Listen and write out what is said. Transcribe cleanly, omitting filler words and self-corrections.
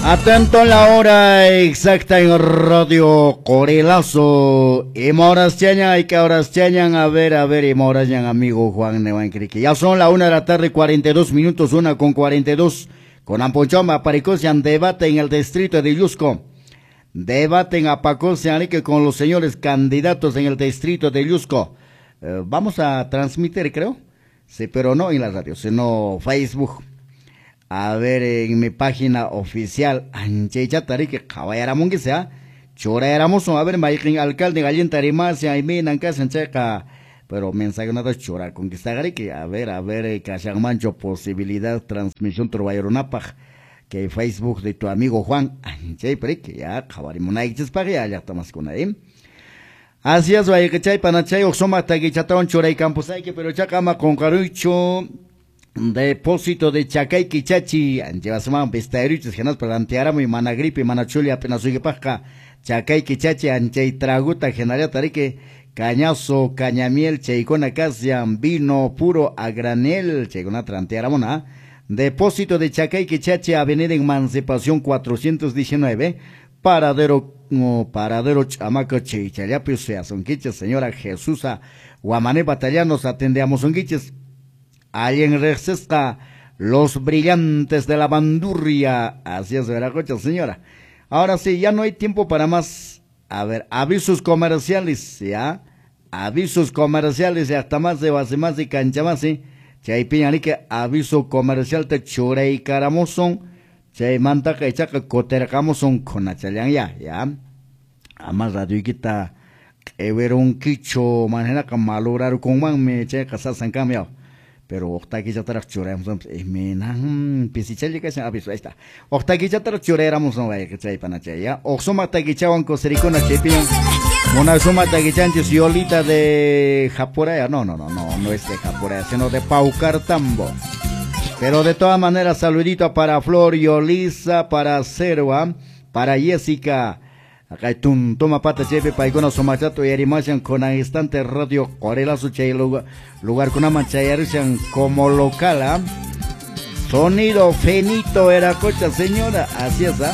Atento la hora exacta en Radio Corelazo. Ima horas chañan, hay que horas chañan. A ver, ima horas ñan, amigo Juan Nevan Criqui. Ya son la 1 de la tarde, 42 minutos, 1:42. Con Amponchoma, Paricosian, debate en el distrito de Llusco. Debate en Apacosian, que con los señores candidatos en el distrito de Llusco. Vamos a transmitir, creo. Sí, pero no en la radio, sino Facebook. A ver, en mi página oficial, anchaychatariki qhawayaramunki, ¿ah? Churayaramusun, a ver, mayqin alcalde gallinta rimashan, imaynan kashan chayqa, pero mensaje nada churakunkistagariki, a ver, kashanmanchu posibilidad transmisión turbayarunapaq, que Facebook de tu amigo Juan, anchaypariki, ya, qhawarimunaykichispaq, ya, llaqtamaskuna, ¿eh? Así es, wayqichay, panachay, uqsumaq takichatawan churaykampusayki, pero chaqa ama qunqaruychu. Depósito de Chacay Quichachi, anchevasman pestairuchis, hinaspa rantiaramuy mana gripe, mana chulia apenasuypaqqa, Chacay Quichachi, anchay traguta, hinallata riki, cañazo, cañamiel, chaykuna kasian, vino puro a granel, chaykunata rantiaramuna. Depósito de Chacay Quichachi, Avenida Emancipación 419, Paradero, Paradero Chamaco, Chaychallapi, Seasonquiches, señora Jesusa Guamané Batallanos, atendemos onquiches. Alguien rexesca los brillantes de la bandurria. Así es, Veracocha, señora. Ahora sí, ya no hay tiempo para más. A ver, avisos comerciales, ¿ya? Avisos comerciales, y hasta más de base más y cancha más, ¿sí? Chaypiñarique, aviso comercial te churey caramoson, chay mantaca y chaca cotercamoson con achallan ya, ya. Amas radioiquita, everunquicho, manera malorar con man me checa sasan cambio. Pero octaquichataraq churayamos, minan pisichalli kashan aviso, ahí está. Octaquichataraq churayamos, no vaya que chay panachay, ya. Oxuma taquichawan cosiricuna chaypiñan. Una suma taquichanchis Yolita de Japuraya, no es de Japuraya, sino de Paucartambo. Pero de todas maneras, saludito para Flor, Yolisa, para Serva, para Jessica. Acá hay toma pata chepe paikuna sumachato y arimashan con instante radio Corelazo chay lugar con chayarushan como local, ¿ah? Sonido Fenito era cocha, señora, así es, ¿ah?